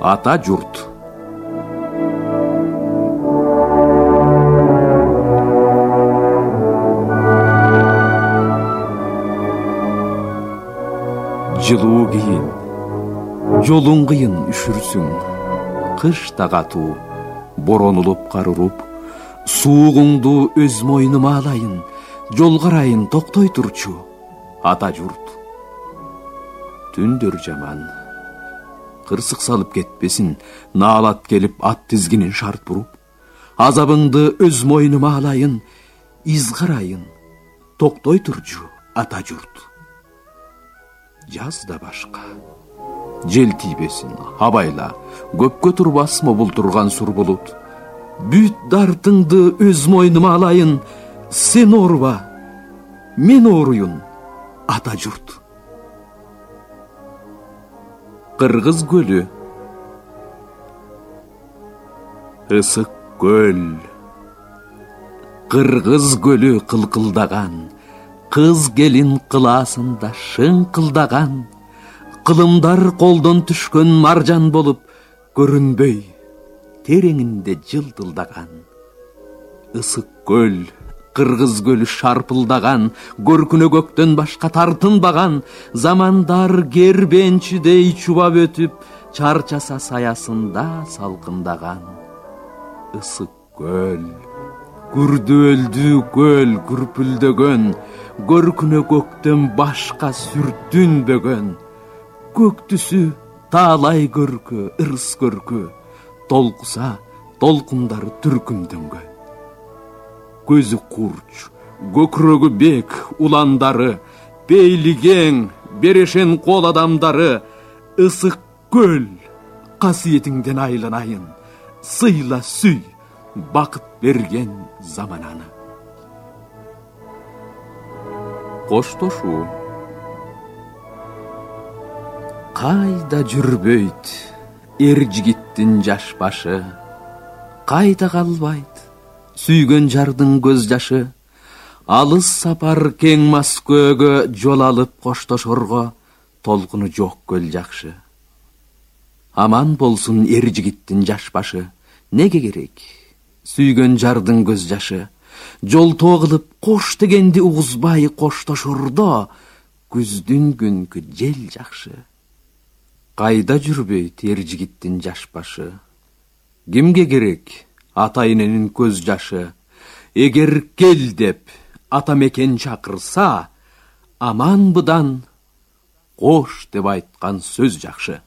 Ата журт. Жылуу кийин, жолуң кыйын үшүрсүң. Кыш да катуу, борон улуп кар уруп, суугуңду өз мойнума алайын, жол карайын токтой турчу, ата журт. Түндөр жаман, кырсык салып кетпесин, наалат келип ат тизгинин шарт буруп, азабыңды өз мойнума алайын, из карайын, токтой турчу, ата журт. Жаз да башка, жел тийбесин, абайла, көпкө турбасмы бултурган сур булут. Бүт дартыңды өз мойнума алайын, сен ооруба, мен ооруйун, ата журт. Кыргыз көлү. Ысык көл. Кыргыз көлү кылкылдаган, кыз келин кылаасында шыңкылдаган, кылымдар колдон түшкөн маржан болуп көрүнбөй, тереңинде жылтылдаган. Ысык көл, кыргыз көлү шарпылдаган, көркүнө көктөн башка тартынбаган, замандар кербенчидей чубап өтүп, чарчаса саясында салкындаган. Ысык көл, күрдөөлдүү көл күрпүлдөгөн, көркүнө көктөн башка сүртүнбөгөн. Көк түсү таалай көркө, ырыс көркө, толкуса толкундары түркүмдөнгөн. Көзү курч, көкүрөгү бек уландары, пейли кең, берешен кол адамдары. Ысык көл, касиетиңден айланайын, сыйла сүй, бакыт берген замананы. Коштошуу. Кайда жүрбөйт эр жигиттин жаш башы, кайда калбайт сүйгөн жардын көз жашы. Алыс сапар кең Москвага жол алып коштошорго, толкуну жок көл жакшы. Аман болсун эр жигиттин жаш башы, неге керек сүйгөн жардын көз жашы. Жолтоо кылып кош дегенди угузбай коштошордо, күздүн күнкү жел жакшы. Кайда жүрбөйт эр жигиттин жаш башы, кимге керек ата эненин көз жашы. Эгер кел деп ата мекен чакырса, аманбыдан кош деп айткан сөз жакшы.